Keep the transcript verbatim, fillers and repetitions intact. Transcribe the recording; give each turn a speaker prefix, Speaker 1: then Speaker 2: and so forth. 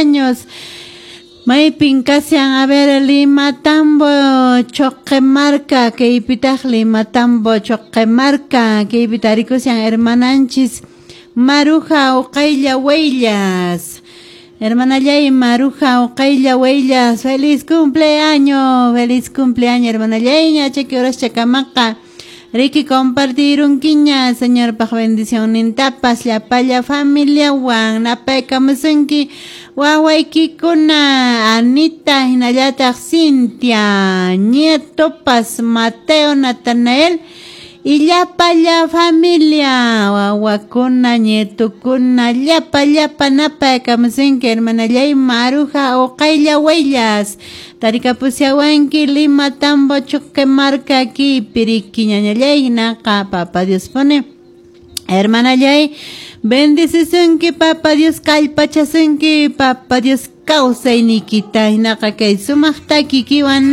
Speaker 1: años. Maypin kashan, a ver, Limatambo, Choquemarca, kaypitaq Limatambo, Choquemarca, kaypi tarikushan hermananchis Maruja Uqaylla Huellas. Hermanallay Maruja Uqaylla Huellas, feliz cumpleaños, feliz cumpleaños, hermanallay, ña chaki horaschakamaqa. Riki compartirunkiña, Señorpaq bendicionnintapas llapalla familiawan napaykamusunki wawaykikuna Anita hinallataq Cintia, nietopas Mateo, Natanael y llapalla familia, wawakuna, nietukuna, llapa llapa napaykamusunki hermanallay Maruja Uqaylla Huellas. Tarikapusyawanki Lima Tambo Choquemarca kaypi riki ñañallay hinaqa Papa Dios pone. Hermanallay, bendicisunki Papa Dios kallpachasunki Papa Dios kawsayniykita hinaqa kay sumaq takikiwan.